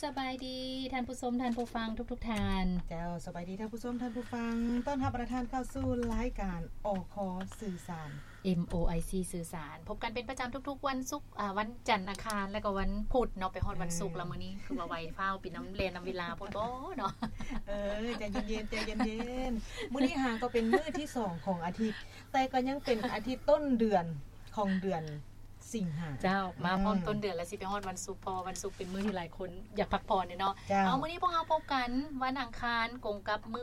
ສະບາຍດີທ່ານຜູ້ຊົມ ທ່ານຜູ້ຟັງທຸກໆທ່ານ. ເຈົ້າ ສະບາຍດີທ່ານຜູ້ຊົມ ທ່ານຜູ້ຟັງ. ຕ້ອນຮັບບັນດາທ່ານເຂົ້າສູ່ລາຍການ ອຄ ສື່ສານ ເອັມ ໂອ ໄອ ຊີ ສື່ສານ. ພົບກັນເປັນປະຈຳທຸກໆວັນສຸກ ອາ ວັນຈັນ ອັງຄານ ແລະກໍວັນພຸດເນາະ. ໄປຮອດວັນສຸກແລ້ວ ມື້ນີ້ຄືວ່າໄວຟ້າວ ເປັນນຳ ແລ່ນນຳເວລາໂພດບໍ່ເນາະ? ເອີ ໃຈເຢັນໆ ໃຈເຢັນໆ. ມື້ນີ້ຫາກໍເປັນມື້ທີສອງຂອງອາທິດ ແຕ່ກໍຍັງເປັນອາທິດຕົ້ນເດືອນຂອງເດືອນສິງຫາ. ເຈົ້າ ມາພ້ອມ ອືມ ຕົ້ນເດືອນ ແລ້ວຊິໄປຮອດວັນສຸກ ເພາະວ່າວັນສຸກເປັນມື້ທີ່ຫຼາຍຄົນຢາກພັກຜ່ອນເນາະ. ເຈົ້າ ເອົາ ມື້ນີ້ພວກເຮົາພົບກັນວັນອັງຄານ ກົງກັບມື້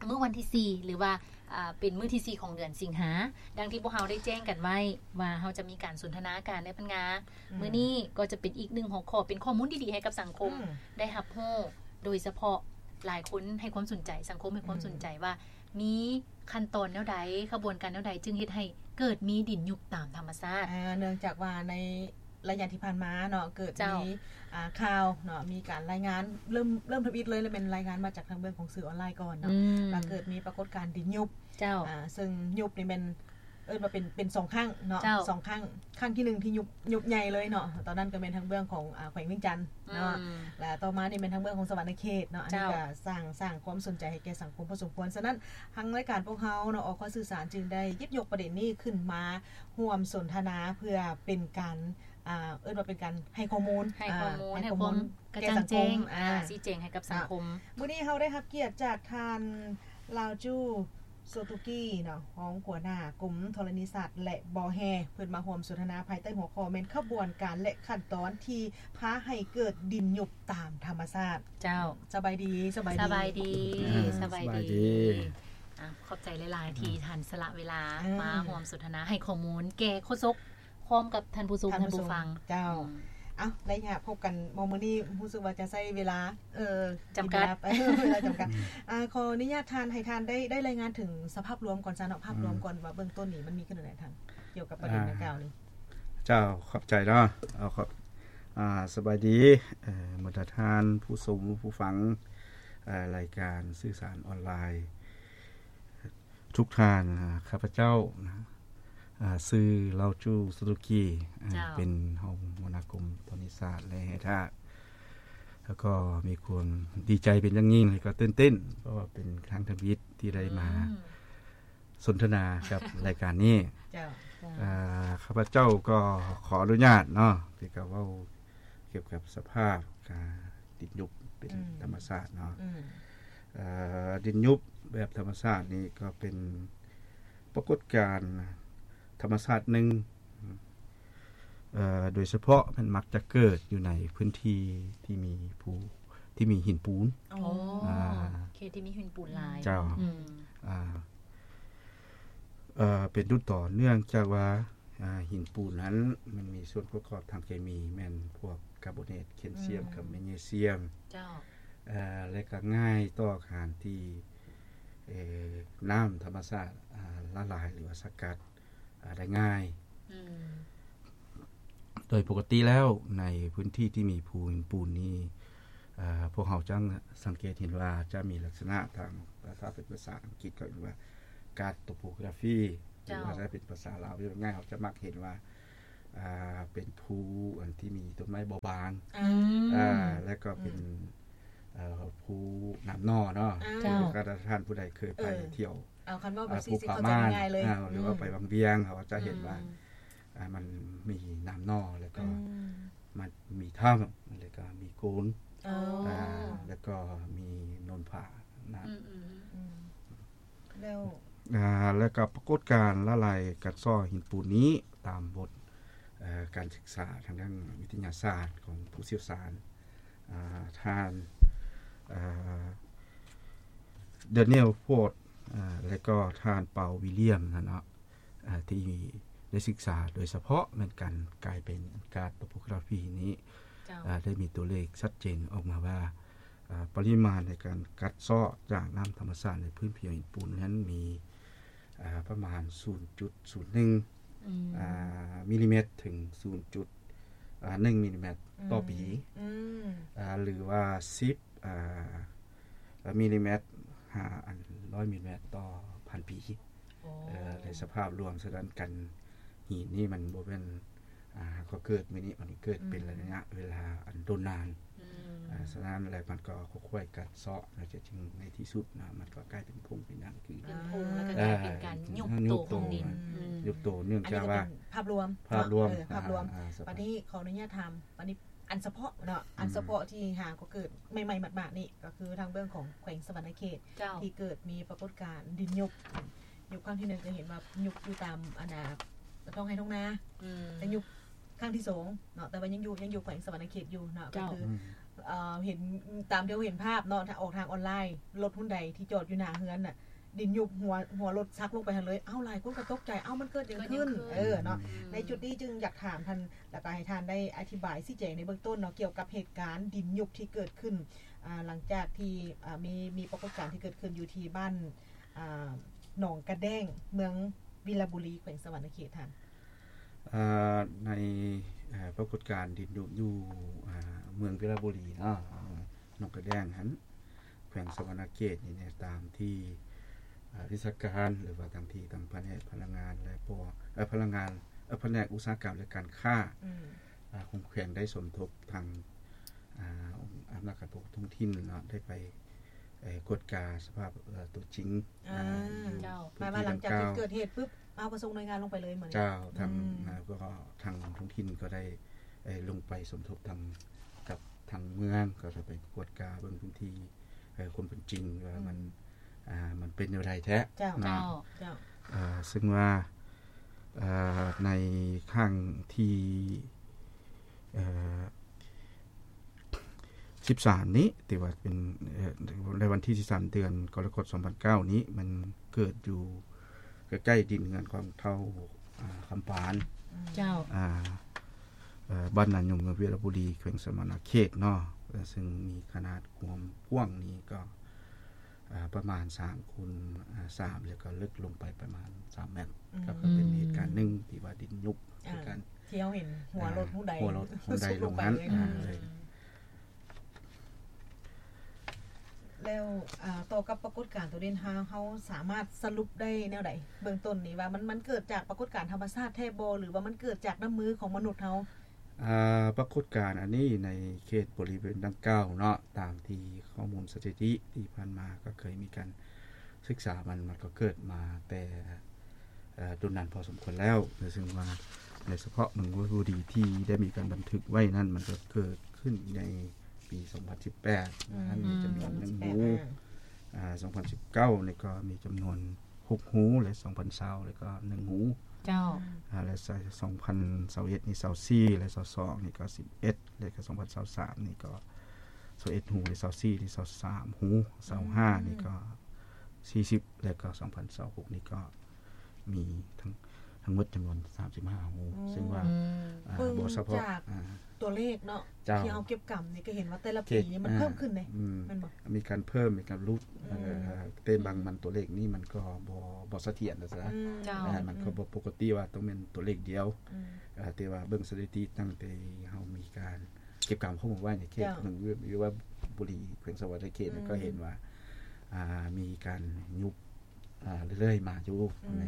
ມື້ວັນທີສີ່ ຫຼືວ່າ ອ່າ ເປັນມື້ທີສີ່ຂອງເດືອນສິງຫາ. ດັ່ງທີ່ພວກເຮົາໄດ້ແຈ້ງກັນໄວ້ວ່າເຮົາຈະມີການສົນທະນາກັນໃນພັນງາ ອືມ ມື້ນີ້ກໍຈະເປັນອີກໜຶ່ງຫົວຂໍ້ ເປັນຂໍ້ມູນດີໆໃຫ້ກັບສັງຄົມ ອືມ ໄດ້ຮັບຮູ້ ໂດຍສະເພາະຫຼາຍຄົນໃຫ້ຄວາມສົນໃຈ ສັງຄົມໃຫ້ຄວາມ ອືມ ສົນໃຈວ່າ ມີຂັ້ນຕອນແນວໃດ ຂະບວນການແນວໃດ ຈຶ່ງເຮັດໃຫ້ເກີດມີດິນຍຸບຕາມທຳມະຊາດ. ອ່າ ເນື່ອງຈາກວ່າໃນໄລຍະທີ່ຜ່ານມາເນາະ ເກີດ ເຈົ້າ ມີ ອ່າ ຂ່າວເນາະ ມີການລາຍງານ ເລີ່ມ ເລີ່ມທຳອິດເລີຍ ແລະແມ່ນລາຍງານມາຈາກທາງເບື້ອງຂອງສື່ອອນລາຍກ່ອນເນາະ ອືມ ວ່າເກີດມີປາກົດການດິນຍຸບ. ເຈົ້າ ອ່າ ເຊິ່ງຍຸບນີ້ແມ່ນ ເອີ້ນວ່າເປັນ ເປັນສອງຄັ້ງເນາະ. ເຈົ້າ ສອງຄັ້ງ ຄັ້ງທີໜຶ່ງທີ່ຍຸບ ຍຸບໃຫຍ່ເລີຍເນາະ ຕອນນັ້ນກໍແມ່ນທາງເບື້ອງຂອງ ອ່າ ແຂວງວຽງຈັນເນາະ ອືມ ແລະຕໍ່ມານີ້ແມ່ນທາງເບື້ອງຂອງສະຫວັນນະເຂດເນາະ. ເຈົ້າ ອັນນີ້ກໍສ້າງ ສ້າງຄວາມສົນໃຈໃຫ້ແກ່ສັງຄົມພໍສົມຄວນ. ສະນັ້ນ ທາງລາຍການພວກເຮົາເນາະ ອຄ ສື່ສານ ຈຶ່ງໄດ້ຫຍິບຍົກປະເດັນນີ້ຂຶ້ນມາຮ່ວມສົນທະນາ ເພື່ອເປັນການ ອ່າ ເອີ້ນວ່າເປັນການໃຫ້ຂໍ້ມູນ ໃຫ້ຂໍ້ມູນ ອ່າ ໃຫ້ຂໍ້ມູນ ໃຫ້ຄວາມກະຈ່າງແຈ້ງ ແກ່ສັງຄົມ ອ່າ ຊີ້ແຈງໃຫ້ກັບສັງຄົມ. ມື້ນີ້ເຮົາໄດ້ຮັບກຽດຈາກທ່ານ ລາວຈູ ໂຊຕຸກີເນາະ ຮອງຫົວໜ້າກົມທໍລະນີສາດ ແລະ ບໍ່ແຮ່ ເພິ່ນມາຮ່ວມສົນທະນາພາຍໃຕ້ຫົວຂໍ້ແມ່ນຂະບວນການ ແລະ ຂັ້ນຕອນທີ່ພາໃຫ້ເກີດດິນຍຸບຕາມທຳມະຊາດ. ເຈົ້າ ສະບາຍດີ ສະບາຍດີ ສະບາຍດີ ອ່າ ສະບາຍດີ ສະບາຍດີ. ອ່າ ຂອບໃຈຫຼາຍໆ ທີ່ ອ່າ ທ່ານສະຫຼະເວລາ ອ່າ ມາຮ່ວມສົນທະນາ ໃຫ້ຂໍ້ມູນແກ່ໂຄສົກ ພ້ອມກັບທ່ານຜູ້ຊົມ ທ່ານຜູ້ຟັງ ທ່ານຜູ້ຊົມ. ເຈົ້າ ອືມ ເອົ້າ ໄລຍະພົບກັນມື້ນີ້ຮູ້ສຶກວ່າຈະໃຊ້ເວລາ ເອີ ຈຳກັດ ເວລາ ເວລາຈຳກັດ. ອ່າ ຂໍອະນຸຍາດທ່ານ ໃຫ້ທ່ານໄດ້ ໄດ້ລາຍງານເຖິງສະພາບລວມກ່ອນຊະເນາະ ພາບລວມ ອືມ ກ່ອນວ່າເບື້ອງຕົ້ນນີ້ມັນມີຂຶ້ນແນວໃດທ່ານ ກ່ຽວກັບປະເດັນ ອ່າ ດັ່ງກ່າວນີ້. ເຈົ້າ ຂອບໃຈເນາະ ເອົາ ຂອບ ອ່າ ສະບາຍດີ ເອີ ບັນດາທ່ານຜູ້ຊົມຜູ້ຟັງ ເອີ ລາຍການສື່ສານອອນລາຍ ທຸກທ່ານ. ອ່າ ຂ້າພະເຈົ້ານະ ອ່າ ຊື່ ລາວຈູ ສຸຕຸກີ ອ່າ ເຈົ້າ ເປັນຮອງຫົວໜ້າກົມທໍລະນີສາດ ແລະ ແຮ່ທາດ ແລ້ວກໍມີຄວາມດີໃຈເປັນຢ່າງຍິ່ງ ແລ້ວກໍຕື່ນເຕັ້ນ ເພາະວ່າເປັນຄັ້ງທຳອິດທີ່ໄດ້ມາ ອືມ ສົນທະນາກັບລາຍການນີ້. ເຈົ້າ ເຈົ້າ ອ່າ ຂ້າພະເຈົ້າກໍຂໍອະນຸຍາດເນາະ ທີ່ຈະເວົ້າກ່ຽວກັບສະພາບ ອ່າ ດິນຍຸບເປັນ ອືມ ທຳມະຊາດເນາະ. ອືມ ເອີ ດິນຍຸບແບບທຳມະຊາດນີ້ກໍເປັນປາກົດການທຳມະຊາດໜຶ່ງ ເອີ ໂດຍສະເພາະແມ່ນມັກຈະເກີດຢູ່ໃນພື້ນທີ່ທີ່ມີພູ ທີ່ມີຫີນປູນ. ອໍ ອ່າ ເຂດທີ່ມີຫີນປູນຫຼາຍ. ເຈົ້າ ອືມ ອ່າ ເອີ ເປັນຕົ້ນຕໍເນື່ອງຈາກວ່າ ອ່າ ຫີນປູນນັ້ນມັນມີສ່ວນປະກອບທາງເຄມີ ແມ່ນພວກກາໂບເນດ ແຄນຊຽມ ອືມ ກັບແມກນີຊຽມ. ເຈົ້າ ເອີ ແລະກໍງ່າຍຕໍ່ການທີ່ ເອີ ນ້ຳທຳມະຊາດ ອ່າ ລະລາຍ ຫຼືວ່າສະກັດ ອ່າ ໄດ້ງ່າຍ. ອືມ ໂດຍປົກກະຕິແລ້ວໃນພື້ນທີ່ທີ່ມີພູຫີນປູນນີ້ ເອີ ພວກເຮົາຈະສັງເກດເຫັນວ່າຈະມີລັກສະນະທາງ ຖ້າເປັນພາສາອັງກິດເຂົາເອີ້ນວ່າ ກາດໂຕໂປກຣາຟີ ຫຼືວ່າ ເຈົ້າ ຈະເປັນພາສາລາວເວົ້າງ່າຍ ເຮົາຈະມັກເຫັນວ່າ ອ່າ ເປັນພູອັນທີ່ມີຕົ້ນໄມ້ບໍ່ບາງ ອືມ ອ່າ ແລ້ວກໍເປັນ ອືມ ເອີ ພູນ້ຳໜໍ່ເນາະ. ເຈົ້າ ຖ້າທ່ານຜູ້ໃດເຄີຍໄປ ເອີ ທ່ຽວ ເອົາ ຄັນເວົ້າແບບຊີ້ ເຂົາໃຈງ່າຍໆເລີຍ ອ່າ ຫຼືວ່າ ອືມ ໄປວັງວຽງ ເຮົາຈະເຫັນວ່າ ອືມ ອ່າ ມັນມີນ້ຳໜໍ່ ແລ້ວກໍ ອືມ ມັນມີຖ້ຳ ແລ້ວກໍມີໂກນ ອໍ ອ່າ ແລ້ວກໍມີໂນນຜານະ. ອືມ ອືມ ອືມ ແລ້ວ ອ່າ ແລ້ວກໍປາກົດການລະລາຍການຊອກຫີນປູນນີ້ ຕາມບົດ ເອີ ການສຶກສາທາງດ້ານວິທະຍາສາດຂອງຜູ້ຊ່ຽວຊານ ອ່າ ທ່ານ ເອີ Daniel Ford ອ່າ ແລະກໍທ່ານ Paul William ນະເນາະ ອ່າ ທີ່ໄດ້ສຶກສາໂດຍສະເພາະແມ່ນການກາຍເປັນກາດໂຕໂປກຣາຟີນີ້ ເຈົ້າ ອ່າ ໄດ້ມີຕົວເລກຊັດເຈນອອກມາວ່າ ອ່າ ປະລິມານໃນການກັດເຊາະຈາກນ້ຳທຳມະຊາດໃນພື້ນຜິວຫີນປູນນັ້ນມີ ອ່າ ປະມານ ສູນຈຸດສູນໜຶ່ງ ອືມ ອ່າ ມິລລີແມັດ ເຖິງ ສູນຈຸດໜຶ່ງ ມິລລີແມັດຕໍ່ປີ ອືມ ອ່າ ຫຼືວ່າ ສິບ ອ່າ ມິລລີແມັດ ຫາ ອັນ ຮ້ອຍມິລລີແມັດຕໍ່ພັນປີ. ອໍ ເອີ ໃນສະພາບລວມສະນັ້ນ ການຫີນນີ້ມັນບໍ່ແມ່ນ ອ່າ ກໍເກີດມື້ນີ້ ມັນເກີດເປັນ ອືມ ໄລຍະເວລາອັນດົນນານ ອືມ ອ່າ ສະນັ້ນແລ້ວມັນກໍຄ່ອຍໆກັດເຊາະ ແລ້ວຈະຈຶ່ງໃນທີ່ສຸດນະ ມັນກໍກາຍເປັນຜົງເປັນຫຍັງຄື ເປັນຜົງ ແລ້ວກໍກາຍເປັນການຍຸບໂຕຂອງດິນ ຍຸບໂຕ ເນື່ອງຈາກວ່າ ອັນນີ້ກໍເປັນພາບລວມ ພາບລວມ ເອີ ພາບລວມ ອ່າ ອ່າ ບັດນີ້ຂໍອະນຸຍາດຖາມ ອັນນີ້ອັນສະເພາະເນາະ ອັນສະເພາະທີ່ຫາກໍເກີດໃໝ່ໆ ໝາດໆ ນີ້ ກໍຄືທາງເບື້ອງຂອງແຂວງສະຫວັນນະເຂດ ທີ່ເກີດມີປາກົດການດິນຍຸບ ຍຸບຄັ້ງທີໜຶ່ງກໍເຫັນວ່າຍຸບຢູ່ຕາມອັນນ່າ ທ້ອງໄຮ່ທ້ອງນາ ແຕ່ຍຸບຄັ້ງທີສອງເນາະ ແຕ່ວ່າຍັງຢູ່ ຍັງຢູ່ແຂວງສະຫວັນນະເຂດຢູ່ເນາະ ກໍຄື ເອີ ເຫັນຕາມທີ່ເຮົາເຫັນພາບເນາະ ຖ້າອອກທາງອອນລາຍ ລົດຮຸນໄດທີ່ຈອດຢູ່ໜ້າເຮືອນນະ ດິນຍຸບ ຫົວ ຫົວລົດສັກລົງໄປຫັ້ນເລີຍ ເອົ້າ ຫຼາຍຄົນກໍຕົກໃຈ ເອົ້າ ມັນເກີດຫຍັງຂຶ້ນ ເອີ ເນາະ ໃນຈຸດນີ້ຈຶ່ງຢາກຖາມທ່ານ ແລ້ວກໍໃຫ້ທ່ານໄດ້ອະທິບາຍຊີ້ແຈງໃນເບື້ອງຕົ້ນເນາະ ກ່ຽວກັບເຫດການດິນຍຸບທີ່ເກີດຂຶ້ນ ອ່າ ຫຼັງຈາກທີ່ ອ່າ ມີ ມີປາກົດການທີ່ເກີດຂຶ້ນຢູ່ທີ່ບ້ານ ອ່າ ໜອງກະແດ້ງ ເມືອງວິລະບູລີ ແຂວງສະຫວັນນະເຂດ ທ່ານ. ເອີ ໃນ ເອີ ປາກົດການດິນຍຸບຢູ່ ເອີ ເມືອງວິລະບູລີເນາະ ໜອງກະແດ້ງຫັ້ນ ແຂວງສະຫວັນນະເຂດນີ້ ຕາມທີ່ ເອີ ວິຊາການ ຫຼືວ່າທາງທີ່ທາງພະແນກພະລັງງານ ແລະ ພວກ ເອີ ພະລັງງານ ເອີ ພະແນກອຸດສາຫະກຳ ແລະ ການຄ້າ ອາ ຂອງແຂວງໄດ້ສົມທົບທາງ ອາ ອຳນາດການປົກຄອງທ້ອງຖິ່ນເນາະ ໄດ້ໄປ ເອີ ກວດກາສະພາບ ເອີ ຕົວຈິງ ອາ ຢູ່ ເຈົ້າ ໝາຍວ່າຫຼັງຈາກທີ່ເກີດເຫດປຶບ ເຮົາກໍສົ່ງໜ່ວຍງານລົງໄປເລີຍ ມື້ນີ້ ເຈົ້າ ທາງ ອາ ກໍທາງທ້ອງຖິ່ນກໍໄດ້ ເອີ ລົງໄປສົມທົບທາງ ກັບທາງເມືອງ ກໍໄດ້ໄປກວດກາເບິ່ງພື້ນທີ່ ເອີ ຄວາມເປັນຈິງວ່າມັນ ອາ ມັນເປັນແນວໃດແທ້ ເຈົ້າ ເນາະ ເຈົ້າ ເອີ ເຊິ່ງວ່າ ເອີ ໃນຄັ້ງທີ ເອີ ສິບສາມນີ້ ທີ່ວ່າເປັນ ເອີ ໃນວັນທີສິບສາມ ເດືອນກໍລະກົດ ສອງພັນເກົ້ານີ້ ມັນເກີດຢູ່ໃກ້ໆດິນເຮືອນຂອງທ້າວ ອາ ຄຳປານ ເຈົ້າ ອາ ເອີ ບ້ານນາຍົມ ເມືອງວິລະບູລີ ແຂວງສະຫວັນນະເຂດເນາະ ເອີ ເຊິ່ງມີຂະໜາດຄວາມກວ້າງນີ້ກໍ ອາ ປະມານສາມຄູນ ອາ ສາມ ແລ້ວກໍເລິກລົງໄປປະມານສາມແມັດ ອືມ ກໍເປັນເຫດການໜຶ່ງທີ່ວ່າດິນຍຸບ ອາ ຄືກັນ ທີ່ເຮົາເຫັນຫົວລົດ ອາ ຫົວໃດ ຫົວລົດ ຫົວໃດລົງຫັ້ນ ອືມ ອາ ເລີຍ ແລ້ວ ອາ ຕໍ່ກັບປາກົດການໂຕນີ້ ເຮົາ ເຮົາສາມາດສະຫຼຸບໄດ້ແນວໃດ ເບື້ອງຕົ້ນນີ້ວ່າມັນ ມັນເກີດຈາກປາກົດການທຳມະຊາດແທ້ບໍ່ ຫຼືວ່າມັນເກີດຈາກນ້ຳມືຂອງມະນຸດເຮົາ? ອາ ປາກົດການອັນນີ້ໃນເຂດບໍລິເວນດັ່ງກ່າວເນາະ ຕາມທີ່ຂໍ້ມູນສະຖິຕິທີ່ຜ່ານມາກໍເຄີຍມີການສຶກສາ ມັນ ມັນກໍເກີດມາແຕ່ ເອີ ດົນນານພໍສົມຄວນແລ້ວ ເຊິ່ງວ່າໃນສະເພາະເມືອງວິລະບູລີທີ່ໄດ້ມີການບັນທຶກໄວ້ນັ້ນ ມັນກໍເກີດຂຶ້ນໃນປີສອງພັນສິບແປດ ອືມ ນັ້ນມີຈຳນວນໜຶ່ງຮູ ອືມ ອາ ສອງພັນສິບເກົ້ານີ້ກໍມີຈຳນວນ ຫົກຮູ ແລະ ສອງພັນຊາວ ແລ້ວກໍໜຶ່ງຮູ ເຈົ້າ ອາ ແລະ ສອງພັນຊາວເອັດນີ້ຊາວສີ່ ແລະ ຊາວສອງນີ້ກໍສິບເອັດ ແລະ ກໍສອງພັນຊາວສາມນີ້ກໍຊາວເອັດຮູ ແລະ ຊາວສີ່ນີ້ຊາວສາມຮູ ຊາວຫ້ານີ້ກໍສີ່ສິບ ແລະ ກໍສອງພັນຊາວຫົກນີ້ກໍມີທັງ ທັງໝົດຈຳນວນສາມສິບຫ້າຮູ ອືມ ເຊິ່ງວ່າ ອືມ ອາ ເບິ່ງ ບໍ່ສະເພາະ ຈາກ ອາ ຕົວເລກເນາະ ເຈົ້າ ທີ່ເຮົາເກັບກຳນີ້ກໍເຫັນວ່າແຕ່ລະປີນີ້ມັນ ອືມ ເພີ່ມຂຶ້ນເດ້ ອືມ ແມ່ນບໍ່? ມີການເພີ່ມ ມີການຫຼຸດ ອືມ ເອີ ແຕ່ບາງມັນຕົວເລກນີ້ມັນກໍບໍ່ ບໍ່ສະຖຽນນະຊະ ອືມ ເຈົ້າ ເອີ ມັນກໍບໍ່ປົກກະຕິວ່າຕ້ອງແມ່ນຕົວເລກດຽວ ອືມ ເອີ ແຕ່ວ່າເບິ່ງສະຖິຕິຕັ້ງແຕ່ເຮົາມີການເກັບກຳຂໍ້ມູນໄວ້ໃນເຂດ ເຈົ້າ ເມືອງວິລະບູລີ ແຂວງສະຫວັນນະເຂດ ອືມ ກໍເຫັນວ່າ ອາ ມີການຍຸບ ອາ ເລື້ອຍໆມາຢູ່ ອືມ ໃນ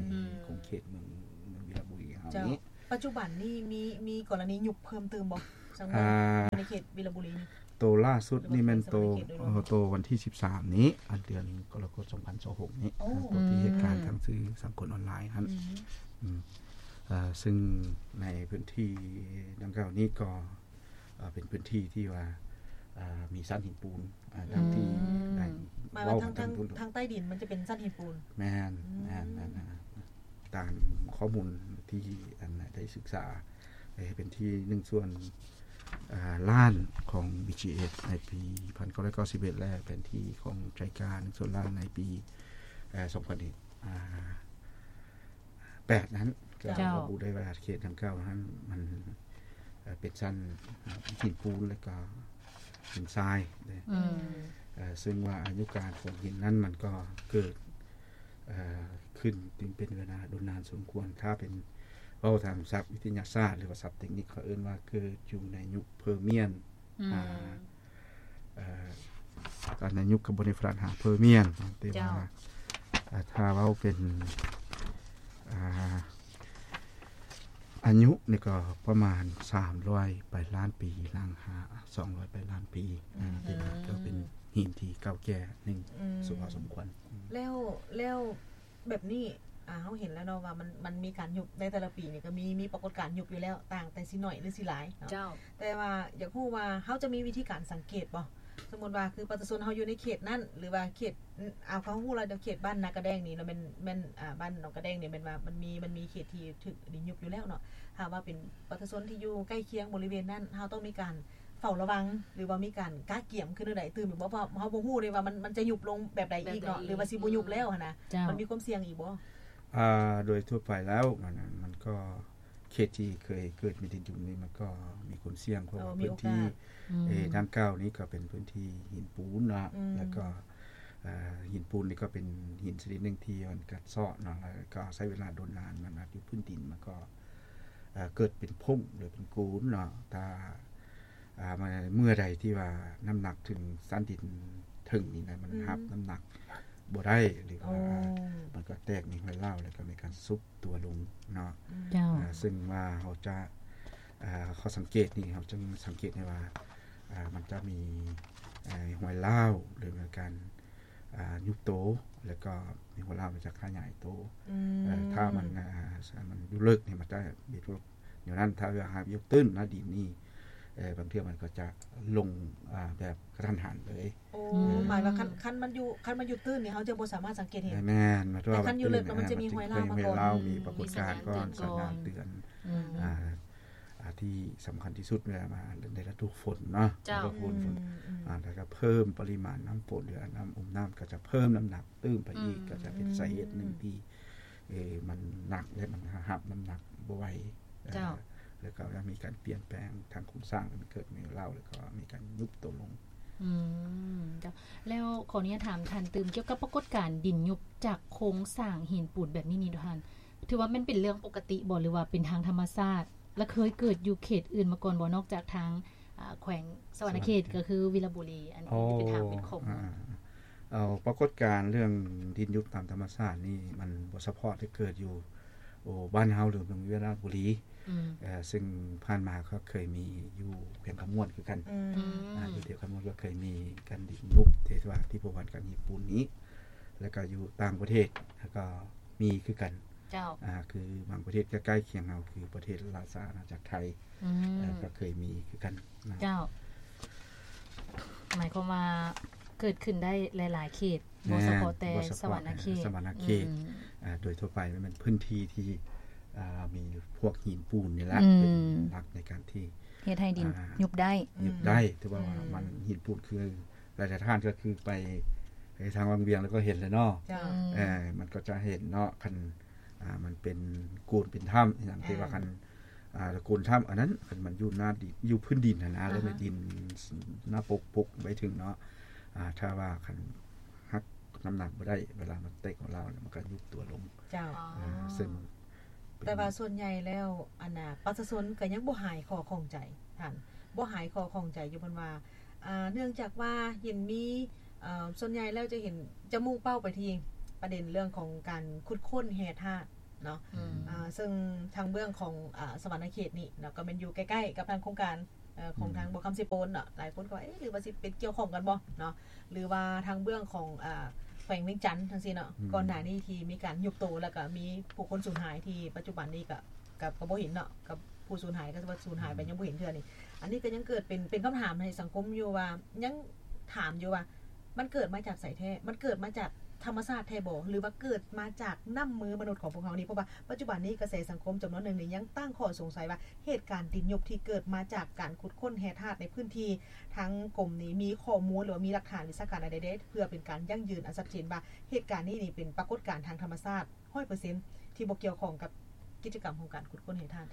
ຂົງເຂດເມືອງ ເມືອງວິລະບູລີເຮົາ ເຈົ້າ ນີ້ ປັດຈຸບັນນີ້ມີ ມີກໍລະນີຍຸບເພີ່ມຕື່ມບໍ່ ທາງເມືອງ ອາ ໃນເຂດວິລະບູລີນີ້? ໂຕລ່າສຸດນີ້ແມ່ນໂຕ ໂຕວັນທີສິບສາມນີ້ ອັນເດືອນກໍລະກົດ ສອງພັນຊາວຫົກນີ້ ໂອ້ ໂຕທີ່ເຫດການທາງສື່ສັງຄົມອອນລາຍຫັ້ນ ອືມ ອືມ ເຊິ່ງໃນພື້ນທີ່ດັ່ງກ່າວນີ້ກໍ ເປັນພື້ນທີ່ທີ່ວ່າ ມີຊັ້ນຫີນປູນ ອາ ດັ່ງທີ່ ອືມ ໄດ້ ໝາຍວ່າ ເວົ້າທາງ ທາງ ທາງໃຕ້ດິນມັນຈະເປັນຊັ້ນຫີນປູນ ແມ່ນ ອືມ ແມ່ນ ແມ່ນ ຕາມຂໍ້ມູນທີ່ ອັນ ໄດ້ສຶກສາ ເປັນທີ່ໜຶ່ງສ່ວນ ອາ ລ້ານຂອງ ບີຈີເອັສ ໃນປີໜຶ່ງພັນເກົ້າຮ້ອຍເກົ້າສິບເອັດ ແລະ ເປັນທີ່ຂອງໄຈກາ ໜຶ່ງສ່ວນລ້ານໃນປີ ເອີ ສອງພັນ ອາ ແປດນັ້ນ ກໍ ເຈົ້າ ລະບຸໄດ້ວ່າເຂດດັ່ງກ່າວນັ້ນມັນ ເອີ ເປັນຊັ້ນ ເອີ ຫີນປູນ ແລ້ວກໍຫີນຊາຍເດ້ ອືມ ເອີ ເຊິ່ງວ່າອາຍຸການຂອງຫີນນັ້ນມັນກໍເກີດ ເອີ ຂຶ້ນເປັນເວລາດົນນານສົມຄວນ ຖ້າເປັນເວົ້າທາງສັບວິທະຍາສາດ ຫຼືວ່າສັບເຕັກນິກ ເຂົາເອີ້ນວ່າເກີດຢູ່ໃນຍຸກເພີມຽນ ອືມ ອາ ເອີ ຕອນນັ້ນຍຸກກໍບໍ່ໄດ້ຟະລັດຫາເພີມຽນ ແຕ່ວ່າ ເຈົ້າ ອາ ຖ້າເວົ້າເປັນ ອາ ອາຍຸນີ້ກໍປະມານສາມຮ້ອຍປາຍລ້ານປີ ຫຼັງຫາ ສອງຮ້ອຍປາຍລ້ານປີ ອືມ ອ່າ ເປັນ ເອີ ກໍເປັນຫີນທີ່ເກົ່າແກ່ໜຶ່ງ ອືມ ສົມເຫາະສົມຄວນ ອືມ ແລ້ວ ແລ້ວແບບນີ້ ອ່າ ເຮົາເຫັນແລ້ວເນາະວ່າມັນ ມັນມີການຍຸບໃນແຕ່ລະປີນີ້ ກໍມີ ມີປາກົດການຍຸບຢູ່ແລ້ວ ຕ່າງແຕ່ຊິໜ້ອຍຫຼືຊິຫຼາຍເນາະ ເຈົ້າ ແຕ່ວ່າຢາກຮູ້ວ່າເຮົາຈະມີວິທີການສັງເກດບໍ່? ສົມມຸດວ່າຄືປະຊາຊົນເຮົາຢູ່ໃນເຂດນັ້ນ ຫຼືວ່າເຂດ ອາ ເຮົາຮູ້ແລ້ວເຂດບ້ານນາກະແດງນີ້ ແມ່ນ ແມ່ນ ອ່າ ບ້ານໜອງກະແດງນີ້ ແມ່ນວ່າມັນມີ ມັນມີເຂດທີ່ຖືກດິນຍຸບຢູ່ແລ້ວເນາະ ຖ້າວ່າເປັນປະຊາຊົນທີ່ຢູ່ໃກ້ຄຽງບໍລິເວນນັ້ນ ເຮົາຕ້ອງມີການເຝົ້າລະວັງ ຫຼືວ່າມີການກະກຽມຄືແນວໃດຕື່ມອີກບໍ່? ເພາະເຮົາບໍ່ຮູ້ເດ້ວ່າມັນ ມັນຈະຍຸບລົງແບບໃດອີກເນາະ ແບບໃດອີກ ຫຼືວ່າຊິບໍ່ຍຸບແລ້ວຫັ້ນນະ ເຈົ້າ ມັນມີຄວາມສ່ຽງອີກບໍ່? ອ່າ ໂດຍທົ່ວໄປແລ້ວ ມັນ ມັນກໍ ເຂດທີ່ເຄີຍເກີດມີດິນຍຸບນີ້ ມັນກໍມີຄວາມສ່ຽງ ເພາະວ່າ ເອີ ມີໂອກາດ ພື້ນທີ່ ອືມ ເອີ ດັ່ງກ່າວນີ້ກໍເປັນພື້ນທີ່ຫີນປູນເນາະ ອືມ ແລ້ວກໍ ເອີ ຫີນປູນນີ້ກໍເປັນຫີນຊະນິດໜຶ່ງທີ່ມັນກັດເຊາະເນາະ ແລ້ວກໍໃຊ້ເວລາດົນນານ ມັນອາດຢູ່ພື້ນດິນ ມັນກໍ ເອີ ເກີດເປັນຜົ້ງ ຫຼືເປັນໂກນເນາະ ຖ້າ ອ່າ ມາເມື່ອໃດທີ່ວ່ານ້ຳໜັກເຖິງຊັ້ນດິນເທິງນີ້ນະ ມັນ ອືມ ຮັບນ້ຳໜັກບໍ່ໄດ້ ຫຼືວ່າ ໂອ້ ມັນກໍແຕກມີຮອຍຮ້າວ ແລ້ວກໍມີການຊຸບຕົວລົງເນາະ ເຈົ້າ ອ່າ ເຊິ່ງວ່າເຮົາຈະ ອ່າ ຂໍ້ສັງເກດນີ້ ເຮົາຈຶ່ງສັງເກດໄດ້ວ່າ ອ່າ ມັນຈະມີ ເອີ ຮອຍຮ້າວ ຫຼືມີການ ອ່າ ຍຸບໂຕ ແລ້ວກໍມີຮອຍຮ້າວ ມັນຈະຂະຫຍາຍໂຕ ອືມ ເອີ ຖ້າມັນ ອ່າ ມັນຢູ່ເລິກນີ້ ມັນຈະເປັນພວກແນວນັ້ນ ຖ້າວ່າຫາກຢູ່ຕື້ນໜ້າດິນນີ້ ເອີ ບາງເທື່ອມັນກໍຈະລົງ ອ່າ ແບບກະທັນຫັນເລີຍ ໂອ້ ອືມ ໝາຍວ່າຄັນ ຄັນມັນຢູ່ ຄັນມັນຢູ່ຕື້ນນີ້ ເຮົາຈະບໍ່ສາມາດສັງເກດເຫັນ ແມ່ນໆ ແຕ່ຄັນຢູ່ເລິກແລ້ວມັນຈະມີຮອຍລ້າວມາກ່ອນ ມີປາກົດການກ່ອນ ມີສັນຍານເຕືອນ ອືມ ອ່າ ອ່າ ທີ່ສຳຄັນທີ່ສຸດເວລາມາໃນລະດູຝົນເນາະ ເຈົ້າ ລະດູຝົນ ອືມ ອ່າ ແລ້ວກໍເພີ່ມປະລິມານນ້ຳຝົນ ຫຼືນ້ຳ ອຸມນ້ຳ ກໍຈະເພີ່ມນ້ຳໜັກຕື່ມໄປອີກ ອືມ ກໍຈະເປັນສາເຫດໜຶ່ງທີ່ ເອີ ມັນໜັກ ແລະ ມັນຮັບນ້ຳໜັກບໍ່ໄຫວ ເຈົ້າ ເອີ ແລ້ວກໍມີການປ່ຽນແປງທາງໂຄງສ້າງ ມັນເກີດມີລາວ ແລ້ວກໍມີການຍຸບໂຕລົງ ອືມ ເຈົ້າ ແລ້ວຂໍອະນຸຍາດຖາມທ່ານຕື່ມ ກ່ຽວກັບປາກົດການດິນຍຸບຈາກໂຄງສ້າງຫີນປູນແບບນີ້ນີ້ ທ່ານ ຖືວ່າແມ່ນເປັນເລື່ອງປົກກະຕິບໍ່ ຫຼືວ່າເປັນທາງທຳມະຊາດ ແລະ ເຄີຍເກີດຢູ່ເຂດອື່ນມາກ່ອນບໍ່ ນອກຈາກທາງ ອ່າ ແຂວງສະຫວັນນະເຂດ ສະຫວັນນະເຂດ ກໍຄືວິລະບູລີ ອັນ ອໍ ທີ່ເປັນທາງ ອໍ ເປັນຂອງ ອ່າ ເອົາ ປາກົດການເລື່ອງດິນຍຸບຕາມທຳມະຊາດນີ້ ມັນບໍ່ສະເພາະແຕ່ເກີດຢູ່ ໂອ້ ບ້ານເຮົາ ຫຼືເມືອງວິລະບູລີ ອືມ ເອີ ເຊິ່ງຜ່ານມາກໍເຄີຍມີຢູ່ແຂວງຄຳມ່ວນຄືກັນ ອືມ ອ່າ ຢູ່ແຖວຄຳມ່ວນກໍເຄີຍມີການດິນຍຸບ ທີ່ວ່າທີ່ພົວພັນກັບຍີ່ປຸ່ນນີ້ ແລ້ວກໍຢູ່ຕ່າງປະເທດ ແລ້ວກໍ ມີຄືກັນ ເຈົ້າ ອ່າ ຄືບາງປະເທດໃກ້ໆຄຽງເຮົາ ຄືປະເທດລາຊະອານາຈັກໄທ ອືມ ເອີ ກໍເຄີຍມີຄືກັນນະ ເຈົ້າ ໝາຍຄວາມວ່າເກີດຂຶ້ນໄດ້ຫຼາຍໆເຂດ ບໍ່ສະເພາະແຕ່ ບໍ່ສະເພາະ ສະຫວັນນະເຂດ ສະຫວັນນະເຂດ ອືມ ອ່າ ໂດຍທົ່ວໄປມັນເປັນພື້ນທີ່ທີ່ ອ່າ ມີພວກຫີນປູນນີ້ແຫຼະ ອືມ ເປັນຫຼັກໃນການທີ່ເຮັດໃຫ້ດິນ ອ່າ ຍຸບໄດ້ ຍຸບໄດ້ ອືມ ຖືວ່າ ອືມ ມັນຫີນປູນຄື ຫຼາຍໆທ່ານກໍຄືໄປ ໄປທາງວັງວຽງແລ້ວກໍເຫັນແລ້ວເນາະ ເຈົ້າ ເອີ ມັນກໍຈະເຫັນເນາະ ຄັນ ອ່າ ມັນເປັນໂກນເປັນຖ້ຳອີ່ຫຍັງ ອ່າ ທີ່ວ່າຄັນ ອ່າ ໂກນຖ້ຳ ອັນນັ້ນ ຄັນມັນຢູ່ໜ້າດິນ ຢູ່ພື້ນດິນຫັ້ນນະ ອ່າຮະ ແລ້ວມີດິນໜ້າປົກປົກໄວ້ເຖິງເນາະ ອ່າ ຖ້າວ່າຄັນຮັບນ້ຳໜັກບໍ່ໄດ້ ເວລາມັນແຕກຂອງລາວ ມັນກໍຍຸບຕົວລົງ ເຈົ້າ ເອີ ເຊິ່ງ ແຕ່ວ່າສ່ວນໃຫຍ່ແລ້ວ ອັນນ່າ ປະຊາຊົນກໍຍັງບໍ່ຫາຍຂໍ້ຂ້ອງໃຈ ທ່ານ ບໍ່ຫາຍຂໍ້ຂ້ອງໃຈຢູ່ ເພິ່ນວ່າ ອ່າ ເນື່ອງຈາກວ່າເຫັນມີ ເອີ ສ່ວນໃຫຍ່ແລ້ວຈະເຫັນ ຈະມຸ່ງເປົ້າໄປທີ່ປະເດັນເລື່ອງຂອງການຂຸດຄົ້ນແຮ່ທາດເນາະ ອືມ ອ່າ ເຊິ່ງທາງເບື້ອງຂອງ ອ່າ ສະຫວັນນະເຂດນີ້ເນາະ ກໍແມ່ນຢູ່ໃກ້ໆກັບທາງໂຄງການ ເອີ ຂອງ ອືມ ທາງບໍ່ຄຳເຊໂປນເນາະ ຫຼາຍຄົນກໍວ່າ ເອະ ຫຼືວ່າຊິເປັນກ່ຽວຂ້ອງກັນບໍ່ເນາະ ຫຼືວ່າທາງເບື້ອງຂອງ ອ່າ ແຂວງວຽງຈັນຈັ່ງຊີ້ເນາະ ອືມ ກ່ອນໜ້ານີ້ທີ່ມີການຍຸບໂຕ ແລ້ວກໍມີຜູ້ຄົນສູນຫາຍ ທີ່ປັດຈຸບັນນີ້ກໍ ກໍ ກໍບໍ່ເຫັນເນາະ ກັບຜູ້ສູນຫາຍ ກໍວ່າສູນຫາຍໄປ ອືມ ຍັງບໍ່ເຫັນເທື່ອນີ້ ອັນນີ້ກໍຍັງເກີດເປັນ ເປັນຄຳຖາມໃຫ້ສັງຄົມຢູ່ວ່າ ຍັງຖາມຢູ່ວ່າ ມັນເກີດມາຈາກໃສແທ້? ມັນເກີດມາຈາກທຳມະຊາດແທ້ບໍ່? ຫຼືວ່າເກີດມາຈາກນ້ຳມືມະນຸດຂອງພວກເຮົານີ້? ເພາະວ່າປັດຈຸບັນນີ້ກະແສສັງຄົມຈຳນວນໜຶ່ງນີ້ຍັງຕັ້ງຂໍ້ສົງໄສວ່າ ເຫດການດິນຍຸບທີ່ເກີດມາຈາກການຂຸດຄົ້ນແຮ່ທາດໃນພື້ນທີ່ ທາງກົມນີ້ມີຂໍ້ມູນ ຫຼືວ່າມີຫຼັກຖານວິຊາການອັນໃດແດ່ ເພື່ອເປັນການຢັ້ງຢືນອັນຊັດເຈນວ່າ ເຫດການນີ້ນີ້ເປັນປາກົດການທາງທຳມະຊາດ ຮ້ອຍເປີເຊັນ ທີ່ບໍ່ກ່ຽວຂ້ອງກັບກິດຈະກຳຂອງການຂຸດຄົ້ນແຮ່ທາດ?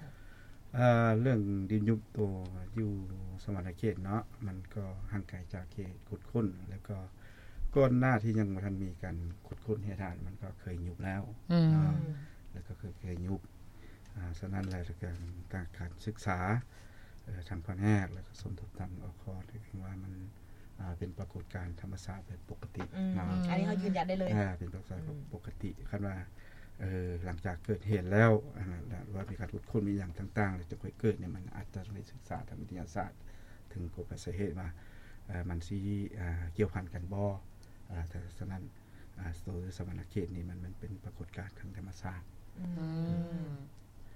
ເອີ ເລື່ອງດິນຍຸບໂຕຢູ່ສະຫວັນນະເຂດເນາະ ມັນກໍຫ່າງໄກຈາກເຂດຂຸດຄົ້ນ ແລ້ວກໍກ່ອນໜ້າທີ່ຍັງບໍ່ທັນມີການຂຸດຄົ້ນແຮ່ທາດ ມັນກໍເຄີຍຍຸບແລ້ວ ອືມ ເນາະ ແລ້ວກໍເຄີຍ ເຄີຍຍຸບ ອ່າ ສະນັ້ນແລ້ວ ການ ການ ການສຶກສາ ເອີ ທາງພະແນກ ແລ້ວກໍສົມທົບທາງ ອຄ ຖືວ່າມັນ ອ່າ ເປັນປາກົດການທຳມະຊາດແບບປົກກະຕິ ອືມ ເນາະ ອັນນີ້ເຮົາຢືນຢັນໄດ້ເລີຍ ອ່າ ເປັນປາກົດການ ອືມ ປົກກະຕິ ຄັນວ່າ ເອີ ຫຼັງຈາກເກີດເຫດແລ້ວ ອັນນັ້ນ ຫຼືວ່າມີການຂຸດຄົ້ນ ມີຫຍັງຕ່າງໆ ແລ້ວຈຶ່ງຄ່ອຍເກີດນີ້ ມັນອາດຈະຕ້ອງໄດ້ສຶກສາທາງວິທະຍາສາດ ເຖິງກົກໄປສາເຫດວ່າ ເອີ ມັນຊິ ເອີ ກ່ຽວພັນກັນບໍ່. ເອີ ແຕ່ສະນັ້ນ ເອີ ໂຕສະຫວັນນະເຂດນີ້ມັນ ມັນເປັນປາກົດການທາງທຳມະຊາດ. ອືມ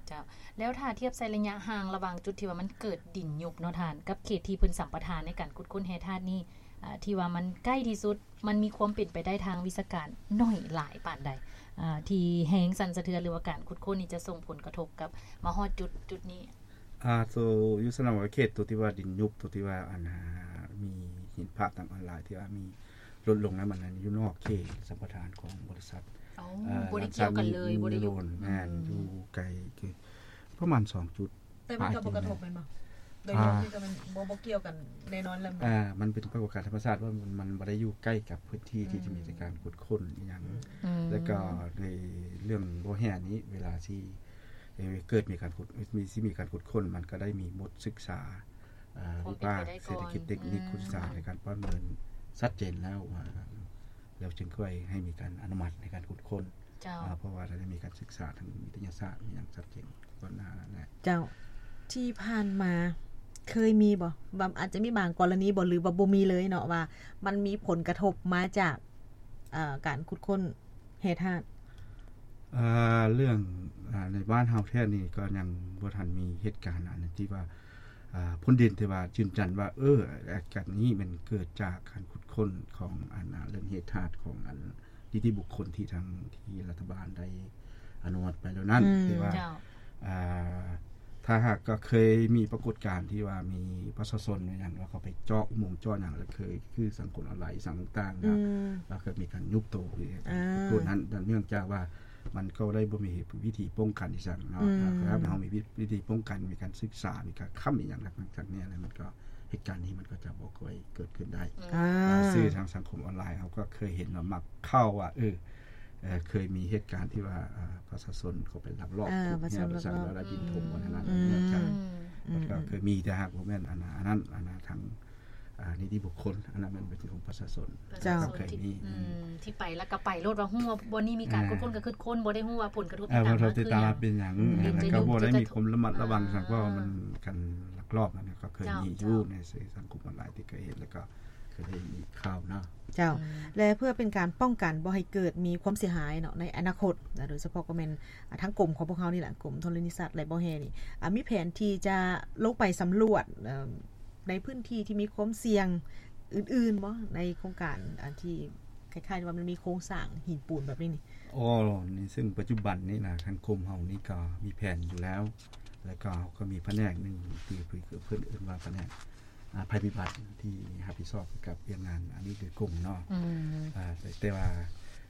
ເຈົ້າ ແລ້ວຖ້າທຽບໃສ່ໄລຍະຫ່າງລະຫວ່າງຈຸດທີ່ວ່າມັນເກີດດິນຍຸບເນາະທ່ານ ກັບເຂດທີ່ເພິ່ນສຳປະທານໃນການຂຸດຄົ້ນແຮ່ທາດນີ້ ເອີ ທີ່ວ່າມັນໃກ້ທີ່ສຸດ ມັນມີຄວາມເປັນໄປໄດ້ທາງວິຊາການໜ້ອຍຫຼາຍປານໃດ ເອີ ທີ່ແຮງສັ່ນສະເທືອນ ຫຼືວ່າການຂຸດຄົ້ນນີ້ຈະສົ່ງຜົນກະທົບກັບມາຮອດຈຸດ ຈຸດນີ້? ອາ ໂຕຢູ່ສະໜາມເຂດ ໂຕທີ່ວ່າດິນຍຸບ ໂຕທີ່ວ່າ ອັນ ມີເຫັນພາບທາງອອນລາຍທີ່ວ່າມີຫຼຸດລົງນັ້ນ ມັນຢູ່ນອກເຂດສຳປະທານຂອງບໍລິສັດ. ອໍ ເອີ ບໍ່ໄດ້ກ່ຽວກັນເລີຍ ບໍ່ໄດ້ຢູ່ ແມ່ນ ອືມ ຢູ່ໄກ ຄືປະມານສອງຈຸດ. ແຕ່ມັນກໍບໍ່ກະທົບແມ່ນບໍ່? ໂດຍລວມ ອາ ນີ້ກໍມັນບໍ່ ບໍ່ກ່ຽວກັນແນ່ນອນແລ້ວ. ອາ ມັນເປັນປາກົດການທຳມະຊາດ ວ່າມັນ ມັນບໍ່ໄດ້ຢູ່ໃກ້ກັບພື້ນທີ່ ອືມ ທີ່ຈະມີການຂຸດຄົ້ນອີ່ຫຍັງ. ອືມ ແລ້ວກໍໃນເລື່ອງບໍ່ແຮ່ນີ້ ເວລາທີ່ ເອີ ເກີດມີການຂຸດ ມີ ຊິມີການຂຸດຄົ້ນ ມັນກໍໄດ້ມີບົດສຶກສາ ເອີ ວິພາກເສດຖະກິດ ເຕັກນິກ ຂຸດສຶກສາ ໃນການປະເມີນຊັດເຈນແລ້ວວ່າ ແລ້ວຈຶ່ງຄ່ອຍໃຫ້ມີການອະນຸມັດໃນການຂຸດຄົ້ນ. ເຈົ້າ ອາ ເພາະວ່າໄດ້ມີການສຶກສາທາງວິທະຍາສາດຢ່າງຊັດເຈນກ່ອນໜ້ານັ້ນແຫຼະ. ເຈົ້າ ທີ່ຜ່ານມາເຄີຍມີບໍ່ ວ່າອາດຈະມີບາງກໍລະນີບໍ່ ຫຼືວ່າບໍ່ມີເລີຍເນາະ ວ່າມັນມີຜົນກະທົບມາຈາກ ເອີ ການຂຸດຄົ້ນແຮ່ທາດ? ເອີ ເລື່ອງ ອາ ໃນບ້ານເຮົາແທ້ນີ້ກໍຍັງບໍ່ທັນມີເຫດການອັນທີ່ວ່າ ອາ ພົ້ນດິນ ທີ່ວ່າຢືນຢັນວ່າ ເອີ ອາການນີ້ແມ່ນເກີດຈາກການຂຸດຄົ້ນຂອງອັນ ອາ ເລື່ອງແຮ່ທາດຂອງອັນ ນິຕິບຸກຄົນທີ່ທາງ ທີ່ລັດຖະບານໄດ້ອະນຸມັດໄປແລ້ວນັ້ນ. ອືມ ແຕ່ວ່າ ເຈົ້າ ອາ ຖ້າຫາກກໍເຄີຍມີປາກົດການທີ່ວ່າມີປະຊາຊົນຫຍັງ ແລ້ວເຂົາໄປເຈາະອຸໂມງເຈາະຫຍັງ ແລ້ວເຄີຍຄືສັງຄົມອອນລາຍ ອີ່ຫຍັງຕ່າງໆ ອືມ ແລ້ວເກີດມີການຍຸບໂຕ ອາ ໂຕນັ້ນ ເນື່ອງຈາກວ່າມັນກໍໄດ້ບໍ່ມີວິທີປ້ອງກັນອີ່ຫຍັງເນາະ. ອືມ ຖ້າເຮົາມີວິ ວິທີປ້ອງກັນ ມີການສຶກສາ ມີການຄ້ຳອີ່ຫຍັງທາງນີ້ ແລ້ວມັນກໍ ເຫດການນີ້ມັນກໍຈະບໍ່ຄ່ອຍເກີດຂຶ້ນໄດ້. ອືມ ອາ ອ່າ ສື່ທາງສັງຄົມອອນລາຍ ເຮົາກໍເຄີຍເຫັນວ່າມັກເຂົ້າວ່າ ເອີ ເອີ ເຄີຍມີເຫດການທີ່ວ່າ ເອີ ປະຊາຊົນເຂົາໄປລັກລອບ ອ່າ ຂຸດແຮ່ ປະຊາຊົນລັກລອບ ແລ້ວດິນຖົມ ອືມ ອັນນັ້ນ ອືມ ເນື່ອງຈາກ ອືມ ມັນກໍເຄີຍມີ ແຕ່ຫາກບໍ່ແມ່ນອັນ ອັນນັ້ນ ອັນນັ້ນທາງ ອ່າ ນິຕິບຸກຄົນ ອັນນັ້ນແມ່ນເປັນຂອງປະຊາຊົນ. ເຈົ້າ ເຄີຍມີ ອືມ ທີ່ໄປແລ້ວກໍໄປໂລດ ວ່າຮູ້ວ່າບ່ອນນີ້ມີການ ອ່າ ຂຸດຄົ້ນກໍຂຸດຄົ້ນ ບໍ່ໄດ້ຮູ້ວ່າຜົນກະທົບ ອ່າ ທີ່ຕາມມາຄືຫຍັງ ແລ້ວກໍບໍ່ໄດ້ມີຄວາມລະມັດລະວັງ ອ່າ ສັງ ເພາະວ່າມັນການລັກລອບນັ້ນກໍເຄີຍມີຢູ່ ເຈົ້າ ໃນສື່ສັງຄົມອອນລາຍທີ່ເຄີຍເຫັນ ແລ້ວກໍເຄີຍໄດ້ຍິນຂ່າວເນາະ. ເຈົ້າ ອືມ ແລະ ເພື່ອເປັນການປ້ອງກັນບໍ່ໃຫ້ເກີດມີຄວາມເສຍຫາຍເນາະ ໃນອະນາຄົດນະ ໂດຍສະເພາະກໍແມ່ນ ອາ ທາງກົມຂອງພວກເຮົານີ້ແຫຼະ ກົມທໍລະນີສັດ ແລະ ບໍ່ແຮ່ນີ້ ອາ ມີແຜນທີ່ຈະລົງໄປສຳຫຼວດ ເອີ ໃນພື້ນທີ່ທີ່ມີຄວາມສ່ຽງອື່ນໆບໍ່ ໃນໂຄງການ ອາ ທີ່ຄ້າຍໆວ່າມັນມີໂຄງສ້າງຫີນປູນແບບນີ້ນີ້? ອໍ ໃນເຊິ່ງປັດຈຸບັນນີ້ນະ ທາງກົມເຮົານີ້ກໍມີແຜນຢູ່ແລ້ວ ແລ້ວກໍເຮົາກໍມີພະແນກໜຶ່ງທີ່ເພິ່ນເອີ້ນວ່າພະແນກ ອາ ໄພພິບັດ ທີ່ຮັບຜິດຊອບກ່ຽວກັບວຽກງານອັນນີ້ໂດຍກົງເນາະ. ອືມ ອາ ແຕ່ ແຕ່ວ່າ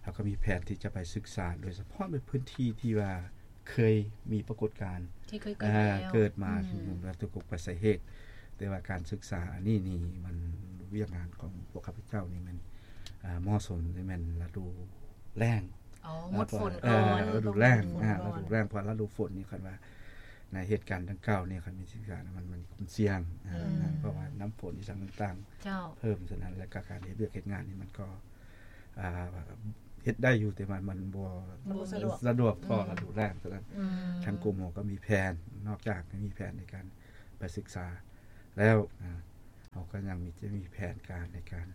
ເຮົາກໍມີແຜນທີ່ຈະໄປສຶກສາ ໂດຍສະເພາະໃນພື້ນທີ່ທີ່ວ່າເຄີຍມີປາກົດການ ທີ່ເຄີຍເກີດ ອາ ແລ້ວ ເກີດມາ ອືມ ທີ່ວ່າຕົກໄປສາເຫດ ແຕ່ວ່າການສຶກສາອັນນີ້ນີ້ ມັນ ວຽກງານຂອງພວກຂ້າພະເຈົ້ານີ້ແມ່ນ ອາ ເໝາະສົມແມ່ນລະດູແລ້ງ. ອໍ ໝົດຝົນກ່ອນ ເອີ ລະດູແລ້ງ ຝົນ ອາ ລະດູແລ້ງ ເພາະລະດູຝົນນີ້ ຄັນວ່າໃນເຫດການດັ່ງກ່າວນີ້ ຄັນມີສິ່ງສານ ມັນ ມັນມີຄວາມສ່ຽງ ອືມ ອາ ເພາະວ່ານ້ຳຝົນອີ່ຫຍັງຕ່າງໆ ເຈົ້າ ເພີ່ມ ສະນັ້ນ ແລ້ວກໍການເຮັດວຽກເຮັດງານນີ້ ມັນກໍ ອາ ເຮັດໄດ້ຢູ່ ແຕ່ວ່າມັນບໍ່ ບໍ່ສະດວກ ສະດວກພໍ ອືມ ລະດູແລ້ງ ສະນັ້ນ ອືມ ທາງກົມເຮົາກໍມີແຜນ ນອກຈາກມີແຜນໃນການໄປສຶກສາແລ້ວ ອາ ເຮົາກໍຍັງມີ ຈະມີແຜນການໃນການ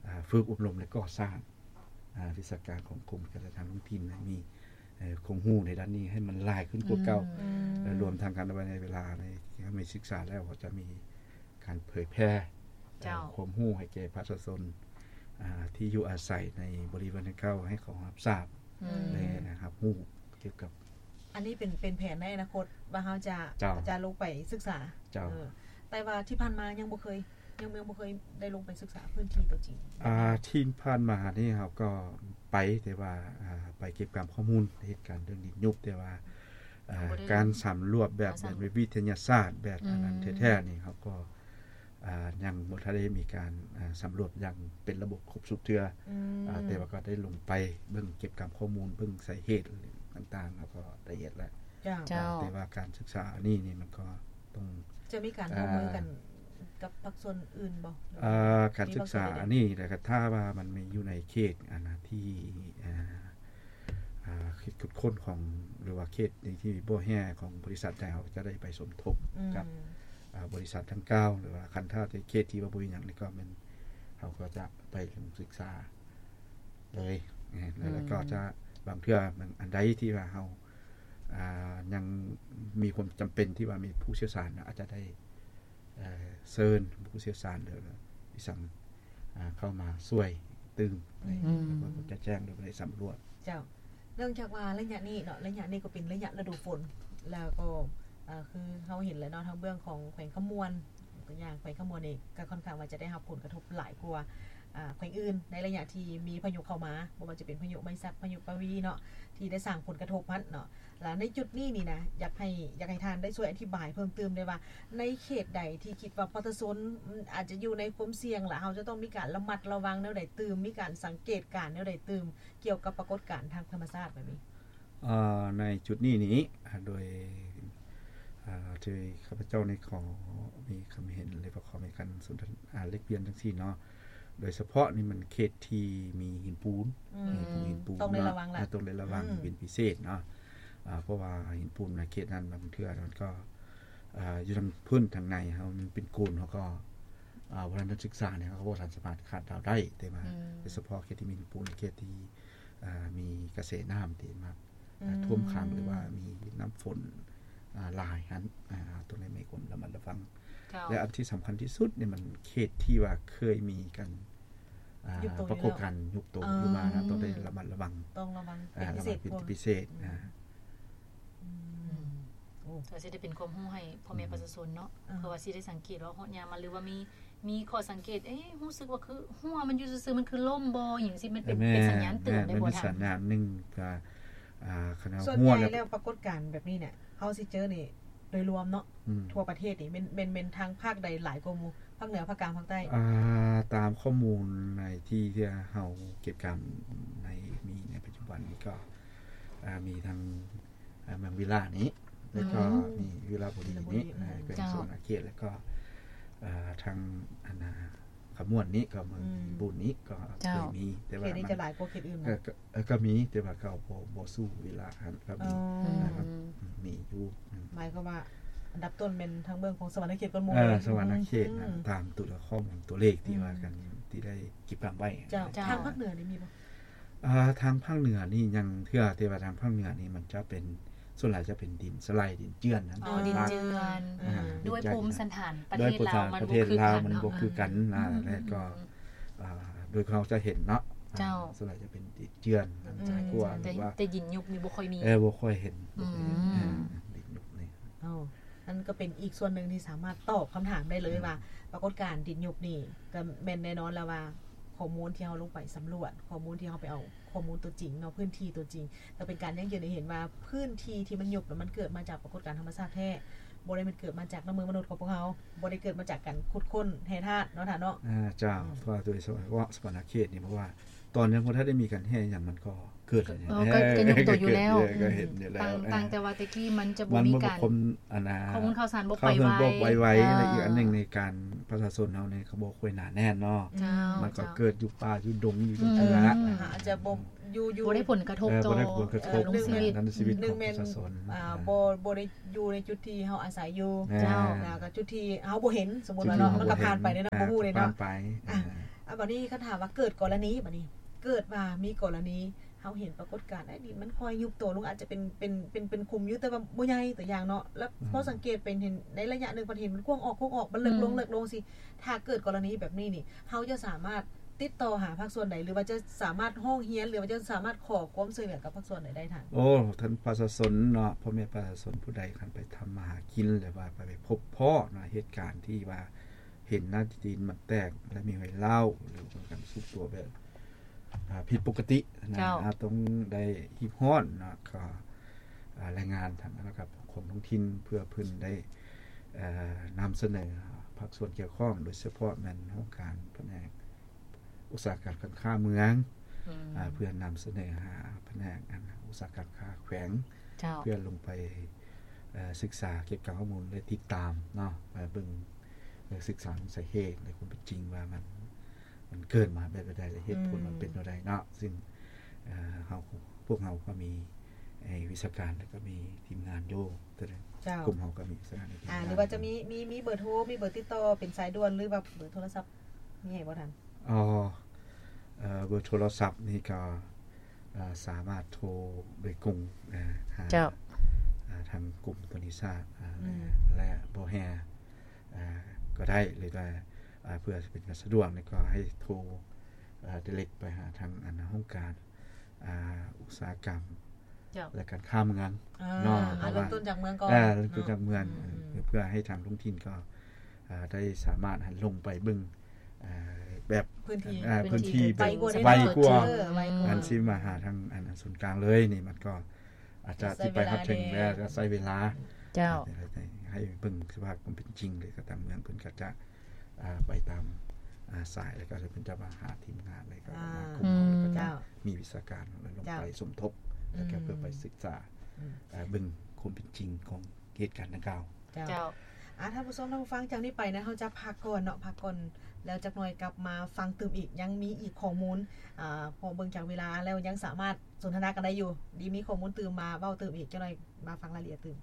ອາ ຝຶກອົບຮົມ ແລະ ກໍ່ສ້າງ ອາ ວິຊາການຂອງກົມການຈັດຕັ້ງທ້ອງຖິ່ນໃຫ້ມີ ເອີ ຄວາມຮູ້ໃນດ້ານນີ້ໃຫ້ມັນຫຼາຍຂຶ້ນກວ່າເກົ່າ ອືມ ແລະ ລວມທັງກັນໄວ້ໃນເວລາໃນທີ່ເຮົາມີສຶກສາແລ້ວ ເຮົາຈະມີການເຜີຍແຜ່ ເຈົ້າ ຄວາມຮູ້ໃຫ້ແກ່ປະຊາຊົນ ອາ ທີ່ຢູ່ອາໄສໃນບໍລິເວນດັ່ງກ່າວ ໃຫ້ເຂົາຮັບຊາບ ອືມ ແລະ ຮັບຮູ້ກ່ຽວກັບ ອັນນີ້ເປັນ ເປັນແຜນໃນອະນາຄົດວ່າເຮົາຈະ ເຈົ້າ ຈະລົງໄປສຶກສາ ເຈົ້າ ເອີ ແຕ່ວ່າທີ່ຜ່ານມາຍັງບໍ່ເຄີຍ ຍັງ ຍັງບໍ່ເຄີຍໄດ້ລົງໄປສຶກສາພື້ນທີ່ຕົວຈິງ. ອາ ທີ່ຜ່ານມານີ້ເຮົາກໍໄປ ແຕ່ວ່າ ອາ ໄປເກັບກຳຂໍ້ມູນເຫດການເລື່ອງດິນຍຸບ ແຕ່ວ່າ ອາ ການສຳຫຼວດແບບ ແບບວິທະຍາສາດ ແບບອັນນັ້ນແທ້ໆນີ້ ເຮົາກໍ ອາ ຍັງບໍ່ທັນໄດ້ມີການ ອາ ສຳຫຼວດຢ່າງເປັນລະບົບຄົບຊຸດເທື່ອ ອືມ ອາ ແຕ່ວ່າກໍໄດ້ລົງໄປເບິ່ງ ເກັບກຳຂໍ້ມູນ ເບິ່ງສາເຫດຕ່າງໆ ເຮົາກໍໄດ້ເຮັດແລ້ວ ເຈົ້າ ເຈົ້າ ແຕ່ວ່າການສຶກສາອັນນີ້ນີ້ ມັນກໍຕ້ອງ ຈະມີການຮ່ວມມືກັນ ອ່າ ກັບພາກສ່ວນອື່ນບໍ່? ເອີ ການສຶກສາອັນນີ້ ແລ້ວກໍຖ້າວ່າມັນມີຢູ່ໃນເຂດ ອັນນະ ທີ່ ເອີ ອາ ເຂດຂຸດຄົ້ນຂອງ ຫຼືວ່າເຂດທີ່ບໍ່ແຮ່ຂອງບໍລິສັດໃດ ເຮົາຈະໄດ້ໄປສົມທົບ ອືມ ກັບ ອ່າ ບໍລິສັດດັ່ງກ່າວ ຫຼືວ່າຄັນຖ້າເຂດທີ່ວ່າບໍ່ມີຫຍັງນີ້ ກໍແມ່ນເຮົາກໍຈະໄປລົງສຶກສາເລີຍ ແລ້ວກໍຈະ ບາງເທື່ອ ອັນໃດທີ່ວ່າເຮົາ ອ່າ ຍັງມີຄວາມຈຳເປັນທີ່ວ່າມີຜູ້ຊ່ຽວຊານ ອາດຈະໄດ້ ເອີ ເຊີນຜູ້ຊ່ຽວຊານ ຫຼື ອີ່ສັງ ອ່າ ເຂົ້າມາຊ່ວຍຕື່ມ ໃນ ອືມ ໃນການຈັດແຈງ ຫຼື ໃນສຳຫຼວດ. ເຈົ້າ ເນື່ອງຈາກວ່າໄລຍະນີ້ເນາະ ໄລຍະນີ້ກໍເປັນໄລຍະລະດູຝົນ ແລ້ວກໍ ເອີ ຄືເຮົາເຫັນແລ້ວເນາະ ທາງເບື້ອງຂອງແຂວງຄຳມ່ວນ ຕົວຢ່າງແຂວງຄຳມ່ວນນີ້ ກໍຄ່ອນຂ້າງວ່າຈະໄດ້ຮັບຜົນກະທົບຫຼາຍກວ່າ ອ່າ ແຂວງອື່ນ ໃນໄລຍະທີ່ມີພາຍຸເຂົ້າມາ ບໍ່ວ່າຈະເປັນພາຍຸໄມຊັກ ພາຍຸປະວີເນາະ ທີ່ໄດ້ສ້າງຜົນກະທົບຫັ້ນເນາະ. ແລ້ວໃນຈຸດນີ້ນີ້ນະ ຢາກໃຫ້ ຢາກໃຫ້ທ່ານໄດ້ຊ່ວຍອະທິບາຍເພີ່ມຕື່ມໄດ້ວ່າ ໃນເຂດໃດທີ່ຄິດວ່າປະຊາຊົນ ອາດຈະຢູ່ໃນຄວາມສ່ຽງ ແລະ ເຮົາຈະຕ້ອງມີການລະມັດລະວັງແນວໃດຕື່ມ ມີການສັງເກດການແນວໃດຕື່ມ ກ່ຽວກັບປາກົດການທາງທຳມະຊາດແບບນີ້? ເອີ ໃນຈຸດນີ້ນີ້ ໂດຍ ເອີ ທີ່ຂ້າພະເຈົ້ານີ້ຂໍມີຄຳເຫັນ ຫຼືວ່າຂໍມີການສົນທະນາ ອາ ແລກປ່ຽນຈັ່ງຊີ້ເນາະ ໂດຍສະເພາະນີ້ມັນເຂດທີ່ມີຫີນປູນ ອືມ ຫີນປູນ ຫີນປູນ ຕ້ອງໄດ້ລະວັງລະ ເນາະ ອາ ຕ້ອງໄດ້ລະວັງ ອືມ ເປັນພິເສດເນາະ ອາ ເພາະວ່າຫີນປູນໃນເຂດນັ້ນບາງເທື່ອມັນກໍ ອາ ຢູ່ທາງພື້ນທາງໃນເຮົາມັນເປັນໂກນ ເຮົາກໍ ອາ ບໍ່ທັນສຶກສານີ້ ເຮົາກໍບໍ່ທັນສາມາດຄາດເດົາໄດ້ ແຕ່ວ່າ ອືມ ໂດຍສະເພາະເຂດທີ່ມີຫີນປູນ ເຂດທີ່ ອາ ມີກະແສນ້ຳທີ່ມາ ອືມ ຖ້ວມຂັງ ຫຼືວ່າມີນ້ຳຝົນ ອາ ຫຼາຍຫັ້ນ ອາ ຕົງນັ້ນມີຄວາມລະມັດລະວັງ ເຈົ້າ ແລະ ອັນທີ່ສຳຄັນທີ່ສຸດນີ້ມັນເຂດທີ່ວ່າເຄີຍມີການ ອາ ປາກົດການຍຸບໂຕຢູ່ມານະ ຕ້ອງໄດ້ລະມັດລະວັງ ຕ້ອງລະວັງເປັນພິເສດ ລະວັງເປັນພິເສດ ອືມ ອາ ອືມ ໂອ້ ກໍຊິໄດ້ເປັນຄວາມຮູ້ໃຫ້ພໍ່ແມ່ ອືມ ປະຊາຊົນເນາະ ອືມ ເພື່ອວ່າຊິໄດ້ສັງເກດວ່າຮອດຍາມມາ ຫຼືວ່າມີ ມີຂໍ້ສັງເກດ ເອ ຮູ້ສຶກວ່າຄືຮົ້ວມັນຢູ່ຊື່ໆ ມັນຄືລົ້ມບໍ່ ຫຍັງຊີ້ ມັນເປັນ ເປັນສັນຍານເຕືອນໄດ້ບໍ່ທ່ານ? ມັນເປັນສັນຍານໜຶ່ງ ກໍ ອາ ຄັນວ່າ ສ່ວນໃຫຍ່ແລ້ວປາກົດການແບບນີ້ເນຍ ເຮົາຊິເຈີນີ້ໂດຍລວມເນາະ ອືມ ທົ່ວປະເທດນີ້ ແມ່ນ ແມ່ນ ແມ່ນທາງພາກໃດຫຼາຍກວ່າໝູ່? ພາກເໜືອ ພາກກາງ ພາກໃຕ້? ອາ ຕາມຂໍ້ມູນໃນທີ່ ທີ່ເຮົາເກັບກຳໃນ ມີໃນປັດຈຸບັນນີ້ກໍ ອາ ມີທັງ ອາ ເມືອງວິລານີ້ ແລ້ວກໍ ອືມ ມີວິລະບູລີນີ້ ວິລະບູລີ ອືມ ແຂວງ ເຈົ້າ ສະຫວັນນະເຂດ ແລ້ວກໍ ອາ ທາງ ອັນນ່າ ຄຳມ່ວນນີ້ ກໍເມືອງ ອືມ ບູນນີ້ ກໍ ເຈົ້າ ເຄີຍມີ ແຕ່ວ່າເຂດນີ້ ມັນ ຈະຫຼາຍກວ່າເຂດອື່ນ ເອີ ເນາະ ກໍ ເອີ ກໍມີ ແຕ່ວ່າກໍບໍ່ ບໍ່ສູ້ວິລະຫັ້ນ ກໍມີ ອໍ ອືມ ອືມ ມີຢູ່ ອືມ ໝາຍຄວາມວ່າອັນດັບຕົ້ນແມ່ນທາງເບື້ອງຂອງສະຫວັນນະເຂດກ່ອນໝູ່ ເອີ ເນາະ ສະຫວັນນະເຂດ ອືມ ຕາມຕົວຂໍ້ມູນຕົວເລກທີ່ ອືມ ວ່າກັນ ທີ່ໄດ້ເກັບກຳໄວ້ ເຈົ້າ ເຈົ້າ ທາງພາກເໜືອນີ້ມີບໍ່? ອ່າ ທາງພາກເໜືອນີ້ຍັງເທື່ອ ແຕ່ວ່າທາງພາກເໜືອນີ້ມັນຈະເປັນ ສ່ວນຫຼາຍຈະເປັນດິນສະໄລ ດິນເຈື່ອນນະ ອໍ ດິນເຈື່ອນ ອາ ອືມ ດ້ວຍພູມສັນຖານປະເທດລາວ ມັນບໍ່ຄືກັນເນາະ ອືມ ແລ້ວກໍ ອືມ ອາ ໂດຍເຮົາຈະເຫັນເນາະ ເຈົ້າ ສ່ວນຫຼາຍຈະເປັນດິນເຈື່ອນ ອືມ ຫຼາຍກວ່າ ແຕ່ ຫຼືວ່າ ແຕ່ດິນຍຸບນີ້ບໍ່ຄ່ອຍມີ ເອີ ບໍ່ຄ່ອຍເຫັນ ອືມ ບໍ່ຄ່ອຍເຫັນ ເອີ ດິນຍຸບນີ້ ອໍ ນັ້ນກໍເປັນອີກສ່ວນໜຶ່ງທີ່ສາມາດຕອບຄຳຖາມໄດ້ເລີຍ ອືມ ວ່າປາກົດການດິນຍຸບນີ້ ກໍແມ່ນແນ່ນອນແລ້ວວ່າ ຂໍ້ມູນທີ່ເຮົາລົງໄປສຳຫຼວດ ຂໍ້ມູນທີ່ເຮົາໄປເອົາຂໍ້ມູນຕົວຈິງເນາະ ພື້ນທີ່ຕົວຈິງ ກໍເປັນການຢັ້ງຢືນໃຫ້ເຫັນວ່າພື້ນທີ່ທີ່ມັນຍຸບ ແລ້ວມັນເກີດມາຈາກປາກົດການທຳມະຊາດແທ້ ບໍ່ໄດ້ແມ່ນເກີດມາຈາກນ້ຳມືມະນຸດຂອງພວກເຮົາ ບໍ່ໄດ້ເກີດມາຈາກການຂຸດຄົ້ນແຮ່ທາດເນາະທ່ານເນາະ ອາ ເຈົ້າ ອືມ ເພາະວ່າໂດຍສະເພາະສະຫວັນນະເຂດນີ້ ເພາະວ່າຕອນຍັງບໍ່ທັນໄດ້ມີການແຮ່ຫຍັງ ມັນກໍ ເກີດ ເອີ ກໍ ກໍຍຸບໂຕຢູ່ແລ້ວ ກໍເຫັນຢູ່ແລ້ວ ຕ່າງ ຕ່າງແຕ່ວ່າແຕ່ກີ້ມັນຈະບໍ່ມີການ ອັນນ່າ ຂໍ້ມູນຂ່າວສານບໍ່ໄປໄວ ບໍ່ໄປໄວ ອ່າ ແລະ ອີກອັນໜຶ່ງໃນການປະຊາຊົນເຮົານີ້ກໍບໍ່ຄ່ອຍໜາແໜ້ນເນາະ ເຈົ້າ ມັນກໍເກີດຢູ່ປ່າຢູ່ດົງຢູ່ ອືມ ຈັ່ງຊີ້ລະ ອືມ ອາດຈະບໍ່ຢູ່ ຢູ່ ບໍ່ໄດ້ຜົນກະທົບ ເອີ ຕໍ່ ບໍ່ໄດ້ຜົນກະທົບ ເອີ ເລື່ອງຊີວິດ ໃນຊີວິດຂອງປະຊາຊົນ ອືມ ອາ ອາ ບໍ່ ບໍ່ໄດ້ຢູ່ໃນຈຸດທີ່ເຮົາອາໄສຢູ່ ເຈົ້າ ແລ້ວກໍຈຸດທີ່ເຮົາບໍ່ເຫັນ ສົມມຸດວ່າເນາະ ຈຸດທີ່ເຮົາບໍ່ເຫັນ ມັນກໍຜ່ານໄປເນາະ ອ່າ ບໍ່ຮູ້ເລີຍເນາະ ຜ່ານໄປ ອ່າ ອ່າ ບາດນີ້ຄັນຖາມວ່າເກີດກໍລະນີ ບາດນີ້ ເກີດວ່າມີກໍລະນີ ເຮົາເຫັນປາກົດການ ເອີ ດິນມັນຄ່ອຍຍຸບໂຕລົງ ອາດຈະເປັນ ເປັນ ເປັນ ເປັນຂຸມຢູ່ ແຕ່ວ່າບໍ່ໃຫຍ່ ຕົວຢ່າງເນາະ ແລ້ວ ອືມ ພໍສັງເກດເປັນ ເຫັນໃນໄລຍະໜຶ່ງ ເພິ່ນເຫັນມັນກວ້າງອອກ ກວ້າງອອກ ມັນເລິກລົງ ອືມ ເລິກລົງຊີ້ ຖ້າເກີດກໍລະນີແບບນີ້ນີ້ ເຮົາຈະສາມາດຕິດຕໍ່ຫາພາກສ່ວນໃດ ຫຼືວ່າຈະສາມາດຮ້ອງຮຽນ ຫຼືວ່າຈະສາມາດຂໍຄວາມຊ່ວຍເຫຼືອກັບພາກສ່ວນໃດໄດ້ທ່ານ? ໂອ້ ທ່ານປະຊາຊົນເນາະ ພໍ່ແມ່ປະຊາຊົນຜູ້ໃດຄັນໄປທຳມາຫາກິນ ຫຼືວ່າໄປ ໄປພົບພໍ້ເນາະ ເຫດການທີ່ວ່າ ເຫັນໜ້າດິນມັນແຕກ ແລະ ມີຮອຍຮ້າວ ຫຼືວ່າການຊຸບຕົວແບບ ອ່າ ຜິດປົກກະຕິນະ ເຈົ້າ ອາ ຕ້ອງໄດ້ຮີບຮ້ອນເນາະ ກໍ ອ່າ ລາຍງານທາງ ລະດັບ ຂອງທ້ອງຖິ່ນ ເພື່ອເພິ່ນໄດ້ ເອີ ນຳສະເໜີພາກສ່ວນກ່ຽວຂ້ອງ ໂດຍສະເພາະແມ່ນຫ້ອງການພະແນກອຸດສາຫະກຳການຄ້າເມືອງ ອືມ ອາ ເພື່ອນຳສະເໜີຫາພະແນກ ອັນ ອຸດສາຫະກຳຄ້າແຂວງ ເຈົ້າ ເພື່ອລົງໄປ ເອີ ສຶກສາເກັບກຳຂໍ້ມູນ ແລະ ຕິດຕາມເນາະ ເບິ່ງ ເອີ ສຶກສາສາເຫດ ແລະ ຄວາມເປັນຈິງວ່າມັນ ມັນເກີດມາແບບໃດ ແລະ ເຫດຜົນມັນເປັນແນວໃດເນາະ ອືມ ຊຶ່ງ ເອີ ເຮົາ ພວກເຮົາກໍມີ ໃຫ້ວິຊາການ ແລ້ວກໍມີທີມງານຢູ່ ແຕ່ລະ ເຈົ້າ ກຸ່ມເຮົາກໍມີວິຊາການໃນທີມງານ ຫຼືວ່າຈະມີ ມີ ມີເບີໂທ ມີເບີຕິດຕໍ່ເປັນສາຍດ່ວນ ຫຼືວ່າເບີໂທລະສັບ ມີໃຫ້ບໍ່ທ່ານ? ອໍ ເອີ ເບີໂທລະສັບນີ້ກໍ ເອີ ສາມາດໂທໂດຍກົງ ເອີ ຫາ ເຈົ້າ ເອີ ທາງກົມອຸທົກການແຫ່ງຊາດ ເອີ ອືມ ແລະ ບໍ່ແຮ່ ເອີ ກໍໄດ້ ຫຼືວ່າ ເອີ ເພື່ອເປັນການສະດວກນີ້ກໍໃຫ້ໂທ ເອີ ໄດເຣັກໄປຫາທາງອັນຫ້ອງການ ອາ ອຸດສາຫະກຳ ເຈົ້າ ແລະ ການຄ້າເມືອງ ອ່າ ເນາະ ເອົາເລີ່ມຕົ້ນຈາກເມືອງກ່ອນ ເອີ ເລີ່ມຕົ້ນຈາກເມືອງ ເນາະ ອືມ ເພື່ອໃຫ້ທາງທ້ອງຖິ່ນກໍ ອາ ໄດ້ສາມາດຫັ້ນລົງໄປເບິ່ງ ອາ ແບບພື້ນທີ່ ອາ ພື້ນທີ່ ໄວກວ່າ ໄວກວ່າ ເອີ ໄວກວ່າ ອັນຊິມາຫາທາງອັນ ອັນສູນກາງເລີຍນີ້ ມັນກໍອາດຈະຊິໄປຮອດເຖິງ ແລ້ວກໍໃຊ້ເວລາ ເຈົ້າ ໃຫ້ເບິ່ງສະພາບຄວາມເປັນຈິງ ແລ້ວກໍທາງເມືອງເພິ່ນກໍຈະ ອາ ໄປຕາມ ອາ ສາຍ ແລ້ວກໍເພິ່ນຈະມາຫາທີມງານ ແລ້ວກໍມາ ອ່າ ກຸ່ມເຮົາ ແລ້ວກໍຈະ ເຈົ້າ ມີວິຊາການລົງໄປ ເຈົ້າ ສົມທົບ ອືມ ແລ້ວກໍເພື່ອໄປສຶກສາ ອືມ ເບິ່ງຄວາມເປັນຈິງຂອງເຫດການດັ່ງກ່າວ ເຈົ້າ ເຈົ້າ ອາ ທ່ານຜູ້ຊົມ ທ່ານຜູ້ຟັງ ຈາກນີ້ໄປນະ ເຮົາຈະພັກກ່ອນເນາະ ພັກກ່ອນ ແລ້ວຈັກໜ່ອຍກັບມາຟັງຕື່ມອີກ ຍັງມີອີກຂໍ້ມູນ ອາ ເພາະເບິ່ງຈາກເວລາແລ້ວ ຍັງສາມາດສົນທະນາກັນໄດ້ຢູ່ ດີ ມີຂໍ້ມູນຕື່ມມາເວົ້າຕື່ມອີກ ຈັກໜ່ອຍມາຟັງລາຍລະອຽດຕື່ມ.